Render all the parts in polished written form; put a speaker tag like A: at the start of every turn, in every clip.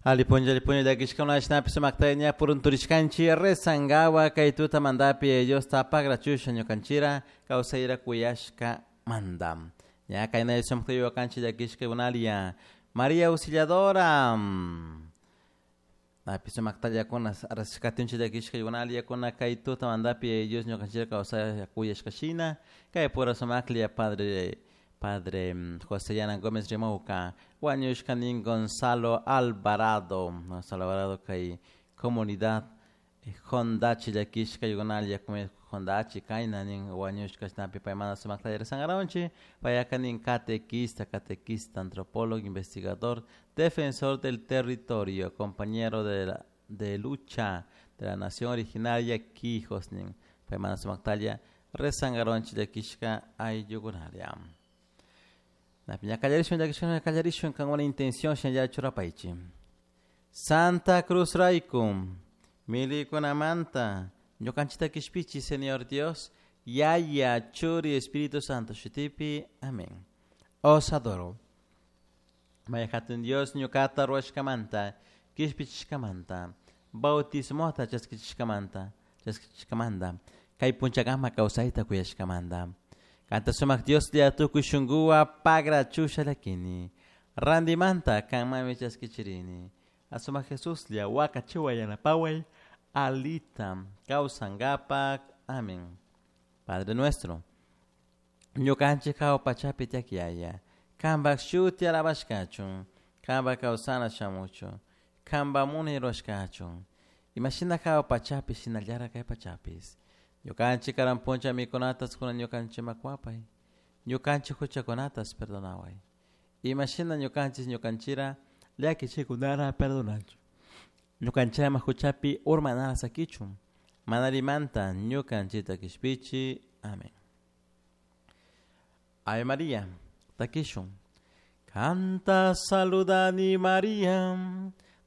A: Ali punlla, ali punlla llakishkuna shinapish sumakta ña purunturishkanchik rezangawa kay tutamantapi Diosta pagrachusha ñukanchira kawsayra kuyashka manda. Ña kaynay sumakta yuyakanchik llakishkakunalia María Auxiliadora. Napi sumaktallakuna rashkatinchik llakishkakunaliakuna kay tutamantapi Dios ñukanchira kawsayra kuyashka shina kay pura sumaklla padre José Yana Gómez rimawka wañushka nin Gonzalo Alvarado, Gonzalo Alvarado kay comunidad Hondachi llakishka yukunalia Hondachi kayna nin wañushka shinapi paymanta sumakta rezangaronchik payaka nin catequista, catequista, antropólogo, investigador, defensor del territorio, compañero de lucha de la nación originaria Quijos nin paymanta sumaktalla rezangaronchik llakishka ayllukunalia. Ña kallarishun llakishkuna kallarishun kankuna intención shinalla churapaychik. Santa Cruz rayku milikunamanta ñukanchikta kishpichi Señor Dios, Yaya, Churi, Espíritu Santo shutipi. Amén. Os adoro. May hatun Dios ñukata ruwashkamanta, kishpichishkamanta, bautismota chaskichishkamanta, chaskichishkamanta, kay punchakama kawsayta kuyashkamanta. Kanta sumak Dios lla tukuy shunkuwa pagrachusha llakini. Randimanta kanmami chaskichirini. Asumak Jesus lla wakachiwa yanapaway alita kawsankapak. Amén. Padre nuestro, ñukanchik hawa pachapi tiyak Yaya, kanpak shuti alabashkachun, kanpak kawsana shamuchun, kanpak munay rurashkachun. Imashina hawa pachapi shinallara kay pachapis. Ñukanchik karan puncha mikunatas kunan ñukanchik makuapay, ñukanchik huchakunatas perdonaway. Imashina ñukanchik ñukanchira llakichikunara perdonanchik. Ñukanchikama huchapi urmanara sakichun, manarimanta ñukanchikta kishpichi. Amén. Ave María, takishun. Canta saludani María,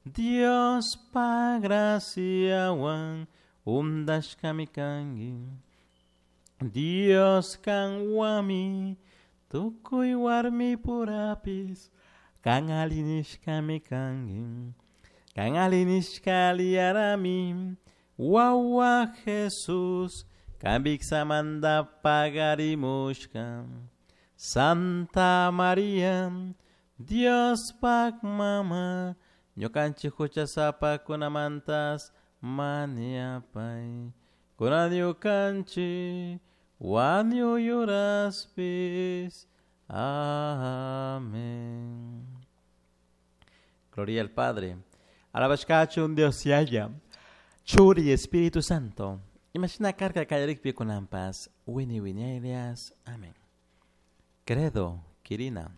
A: Dios pa graciawan undashkami kanki. Dios kanwami tukuy warmi purapis kan alinishkami kanki. Kan alinishka aliyarami wawa Jesus kan viksamanta pagarimushka. Santa María, Dios pak mama, ñukanchik huchasapakunamantas maniapay. Kunan ñukanchik wañuyuraspis. Amén. Gloria al Padre. Alabashkachun Dios Yaya, Churi Espíritu Santo. Imagina carga kallarikpi kunanpas, wini wiñaylias. Amén. Credo, Kirina.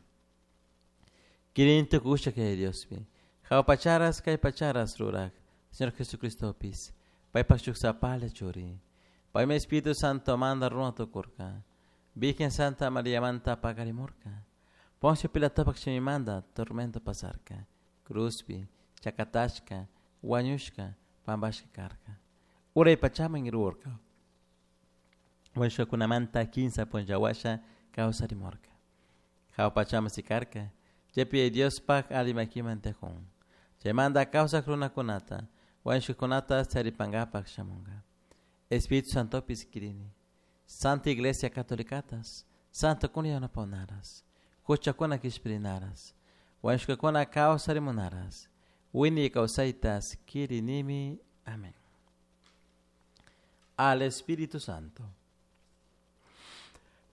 A: Kirin tukusha kay Diospi. Hawa pacharas kay pacharas rurak. Señor Jesucristopis. Paypak shuksapala churi. Paymi Espíritu Santo manda runa tukurka. Virgen Santa María manta pagarimurka. Poncio Pilatopak shimimanta tormento pasarka. Cruzpi, chakatashka, wañushka, pampashka karka. Uray pachaman irurka. Wañushkakunamanta kinsa punlla washa kawsarimurka. Hawa pachaman sikarka. Chaypi Diospak alli makiman tiyakun. Chaymanta kawsak runakunata, wañushkakunata charipankapak shamunka. Espíritu Santopis kirini. Santa Iglesia Catolicatas, Santo kuna yanapahunaras, huchakuna kishpirinaras, wañushkakuna kawsarimunaras, wiñay kawsaytas kirinimi. Amén. Al Espíritu Santo.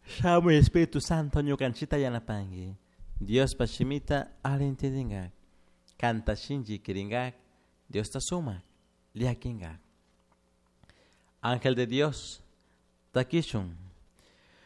A: Shamuy Espíritu Santo ñukanchita yanapanki. Diospa shimita alli entendingak. Kanta shinchi kiringak. Diosta sumak llakinkak. Ángel de Dios, takishun.